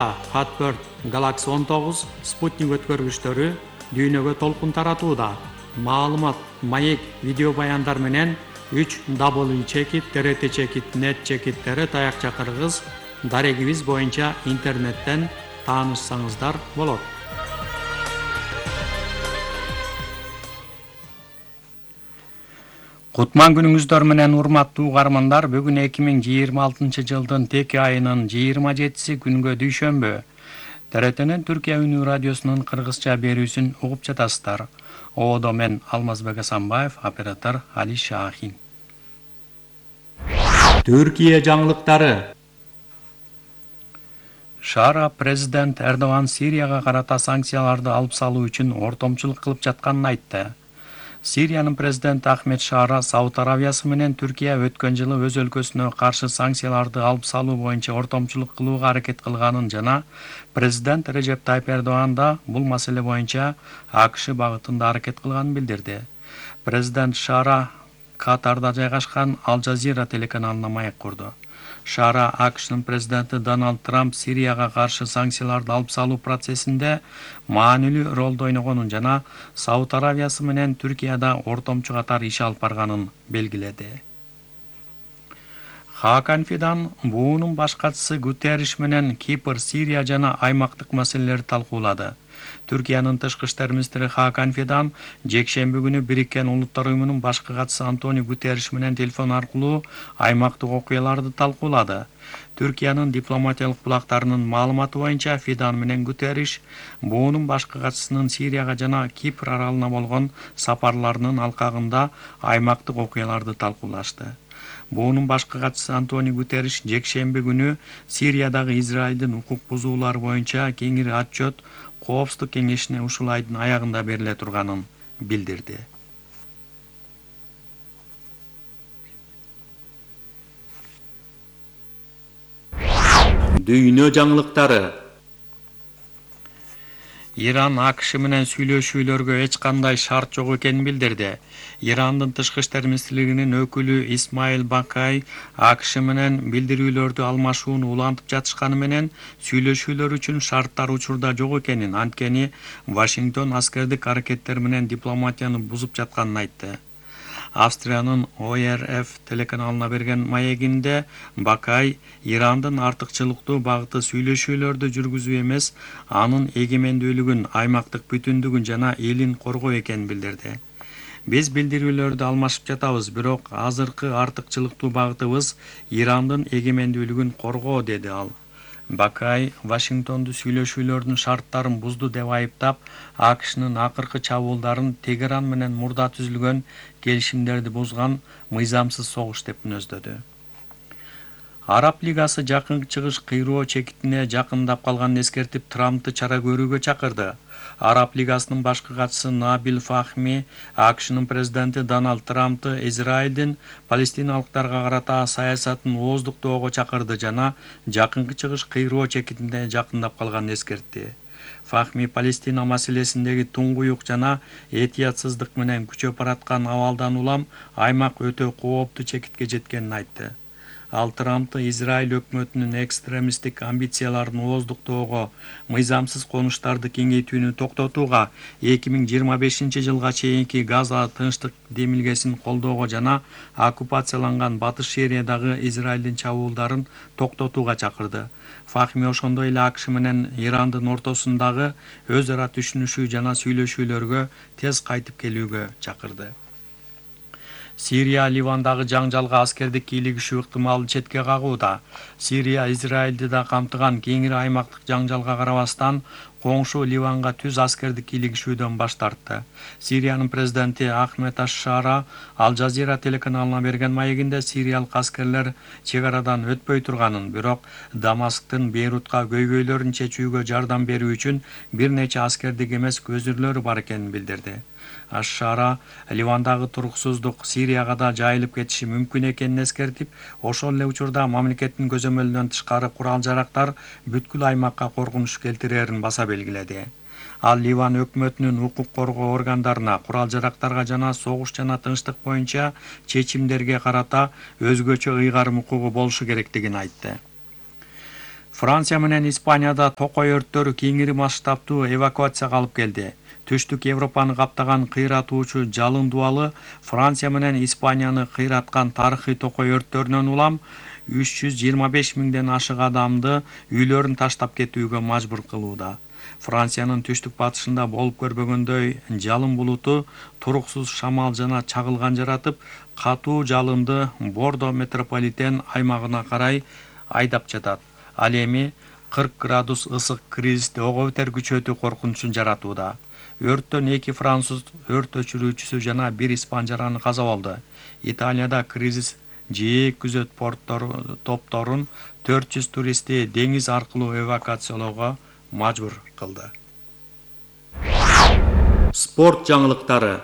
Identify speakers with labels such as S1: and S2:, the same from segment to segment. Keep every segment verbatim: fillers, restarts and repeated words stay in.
S1: Hotbird Galaxy он тогуз спутник өткөргүчтөрү дүйнөгө толкун таратууда. Маалымат, маек, видео баяндар менен үч дабл ю чекит, т р т чекит, нет чекиттери таякча кыргыз дарегибиз боюнча интернеттен таанышсаңыздар болот. Кутман күнүңүздөр менен урматтуу угармандар, бүгүн эки миң жыйырма алтынчы жылдын теке айынын жыйырма жетиси күнгө дүйшөмбү. Т р Т'нин Түркия үнүү радиосунун кыргызча берүүсүн угуп жатасыздар. Оодо мен Алмазбек Асанбаев, оператор Али Шахин. Түркия жаңылыктары. Шара президент Эрдоган Сирияга карата санкцияларды алып салуу үчүн ортомчулук кылып жатканын айтты. Сириянын президенти Ахмед Шара Сауд Аравиясы менен Түркия өткөн жылы өз өлкөсүнө каршы санкцияларды алып салуу боюнча ортомчулук кылууга аракет кылганын жана президент Режеп Тайип Эрдоган да бул маселе боюнча А К Ш багытында аракет кылганын билдирди. Президент Шара Катарда жайгашкан Ал Жазира телеканалына маек курду. Шара А К Шнын президенти Дональд Трамп Сирияга каршы санкцияларды алып салуу процессинде маанилүү ролду ойногонун жана Сауд Аравиясы менен Түркияда ортомчу катар иш алып барганын белгиледи. Хакан Фидан буунун баш катчысы Гутерриш менен Кипр, Сирия жана аймактык маселелерди талкуулады. Түркиянын тышкы иштер министри Хакан Фидан жекшемби күнү Бириккен Улуттар уюмунун башкы катчысы Антонио Гутерриш менен телефон аркылуу аймактык окуяларды талкуулады. Түркиянын дипломатиялык булактарынын маалыматы боюнча Фидан менен Гутерриш буунун башкы катчысынын Сирияга жана Кипр аралына болгон сапарларынын алкагында аймактык окуяларды талкуулашты. Буунун башкы катчысы Антонио Гутерриш жекшемби күнү Сириядагы Израилдин укук бузуулары боюнча кеңири отчет Коопсуздук кеңешине ушул айдын аягында бериле турганын билдирди. Дүйнө жаңылыктары. Иран А К Ш менен сүйлөшүүлөргө эч кандай шарт жок экенин билдирди. Ирандын тышкы иштер министрлигинин өкүлү Исмаил Бакай А К Ш менен билдирүүлөрдү алмашууну улантып жатышканы менен сүйлөшүүлөр үчүн шарттар учурда жок экенин, анткени Вашингтон аскердик аракеттер менен дипломатияны бузуп жатканын айтты. Австриянын О Р Ф телеканалына берген маегинде Бакай Ирандын артыкчылыктуу багыты сүйлөшүүлөрдү жүргүзүү эмес, анын эгемендүүлүгүн, аймактык бүтүндүгүн жана элин коргоо экенин билдирди. Биз билдирүүлөрдү алмашып жатабыз, бирок азыркы артыкчылыктуу багытыбыз Ирандын эгемендүүлүгүн коргоо, деди ал. Бакай Вашингтонду сүйлөшүүлөрдүн шарттарын бузду деп айыптап, А К Шнын акыркы чабуулдарын Тегеран менен мурда түзүлгөн келишимдерди бузган мыйзамсыз согуш деп мүнөздөдү. Араб Лигасы Жакын Чыгыш кыйроо чекитине жакындап калганын эскертип, Трампты чара көрүүгө чакырды. Араб Лигасынын башкы катчысы Набил Фахми А К Шнын президенти Дональд Трампты Израилдин палестиналыктарга карата саясатын ооздуктоого чакырды жана Жакынкы Чыгыш кыйроо чекитине жакындап калганын эскертти. Фахми Палестина маселесиндеги туңгуюк жана этиятсыздык менен күчөп бараткан абалдан улам аймак өтө кооптуу чекитке жеткенин айтты. Ал Трампты Израиль өкмөтүнүн экстремисттик амбицияларын ооздуктоого, мыйзамсыз конуштарды кеңейтүүнү токтотууга, эки миң жыйырма бешинчи жылга чейинки Газа тынчтык демилгесин колдоого жана оккупацияланган Батыш Сириядагы Израилдин чабуулдарын токтотууга чакырды. Фахми ошондой эле А К Ш менен Ирандын ортосундагы өз ара түшүнүшүү жана сүйлөшүүлөргө тез кайтып келүүгө чакырды. Сирия Ливандагы жаңжалга аскердик кийлигишүү ыктымалын четке кагууда. Сирия Израилди да камтыган кеңири аймактык жаңжалга карабастан коңшу Ливанга түз аскердик кийлигишүүдөн баш тартты. Сириянын президенти Ахмед Аш-Шара Ал Жазира телеканалына берген маегинде сириялык аскерлер чек арадан өтпөй турганын, бирок Дамасктын Бейрутка көйгөйлөрүн чечүүгө жардам берүү үчүн бир нече аскердик эмес көзүрлөрү бар экенин билдирди. Аш-Шара Ливандагы туруксуздук Сирияга да жайылып кетиши мүмкүн экенин эскертип, ошол эле учурда мамлекеттин көзөмөлүнөн тышкары курал-жарактар бүткүл аймакка коркунуч келтирерин баса белгиледи. Ал Ливан өкмөтүнүн укук коргоо органдарына, курал-жарактарга жана согуш жана тынчтык боюнча чечимдерге карата өзгөчө ыйгарым укугу болушу керектигин айтты. Франция менен Испанияда токой өрттөрү кеңири масштабтуу эвакуацияга алып келди. Түштүк Европаны каптаган кыйратуучу жалын дубалы Франция менен Испанияны кыйраткан тарыхый токой өрттөрүнөн улам үч жүз жыйырма беш миңден ашык адамды үйлөрүн таштап кетүүгө мажбур кылууда. Франциянын түштүк батышында болуп көрбөгөндөй жалын булуту туруксуз шамал жана чагылган жаратып, катуу жалынды Бордо метрополитен аймагына карай айдап жатат. Ал эми кырк градус ысык кризисти ого бетер күчөтүү коркунучун жаратууда. Өрттөн эки француз өрт өчүрүүчүсү жана бир испан жараны каза болду. Италияда кризис жээк күзөт порттор топторун төрт жүз туристти деңиз аркылуу эвакуациялоого мажбур кылды. Спорт жаңылыктары.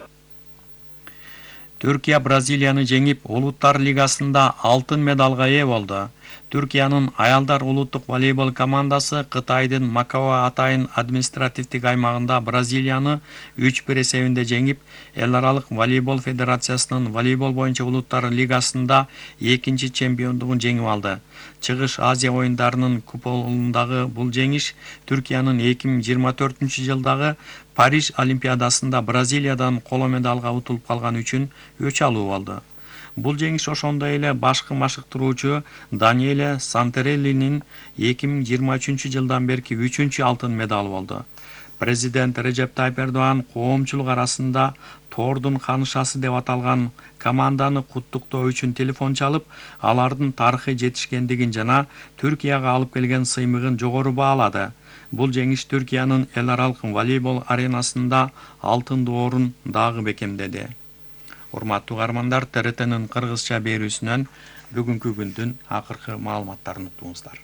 S1: Түркия Бразилияны жеңип, Улуттар лигасында алтын медалга ээ болду. Түркиянын аялдар улуттук волейбол командасы Кытайдын Макао атайын административдик аймагында Бразилияны үч бир эсебинде жеңип, Эл аралык волейбол федерациясынын волейбол боюнча улуттар лигасында экинчи чемпиондугун жеңип алды. Чыгыш Азия оюндарынын куполундагы бул жеңиш Түркиянын эки миң жыйырма төртүнчү жылдагы Париж Олимпиадасында Бразилиядан коло медалга утулуп калган үчүн өч алуу болду. Бул жеңиш ошондой эле башкы машыктыруучу Даниэле Сантереллинин эки миң жыйырма үчүнчү жылдан берки үчүнчү алтын медалы болду. Президент Режеп Тайып Эрдоган коомчулук арасында Тордун канышасы деп аталган команданы куттуктоо үчүн телефон чалып, алардын тарыхый жетишкендигин жана Түркияга алып келген сыймыгын жогору баалады. Бул жеңиш Түркиянын эл аралык волейбол аренасында алтын орун дагы бекемдеди. Урматтуу угармандар, Т Р Т'нин кыргызча берүүсүнөн бүгүнкү күндүн акыркы маалыматтарын уктуңуздар.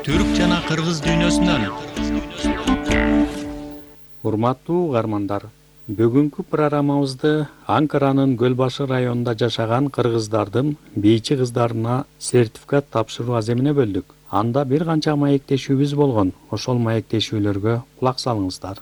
S1: Түрк жана кыргыз дүйнөсүнөн. Урматтуу угармандар, бүгүнкү программабызды Анкаранын Гөлбашы районунда жашаган кыргыздардын бийчи кыздарына сертификат тапшыруу аземине бөлдүк. Анда бир канча маектешүүбүз болгон. Ошол маектешүүлөргө кулак салыңыздар.